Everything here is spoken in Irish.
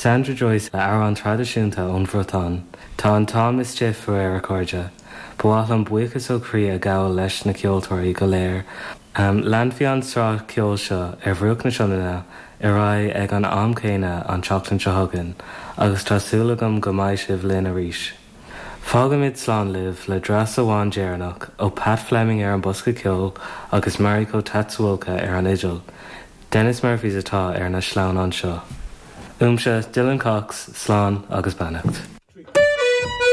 Sandra Joyce le amhrán traidisiúnta ón Bhriotáin. Tá an t-am istigh faraor, a chairde. Ba mhaith liom buíochas ó chroí a ghabháil leis na ceoltóirí go léir. Leanfaidh an tsraith ceoil seo ar bhruach na Sionainne ar aghaidh ag an am céanna an tseachtain seo chugainn agus tá súil agam go mbeidh sibh linn arís. Fágaimid slán libh le dreas amháin deireanach ó Pat Fleming ar an bosca ceoil agus Mariko Tatsuoka ar an fhidil. Denis Murphys atá ar na sleamhnáin seo. Uaimse, Dylan Cox, slán agus beannacht.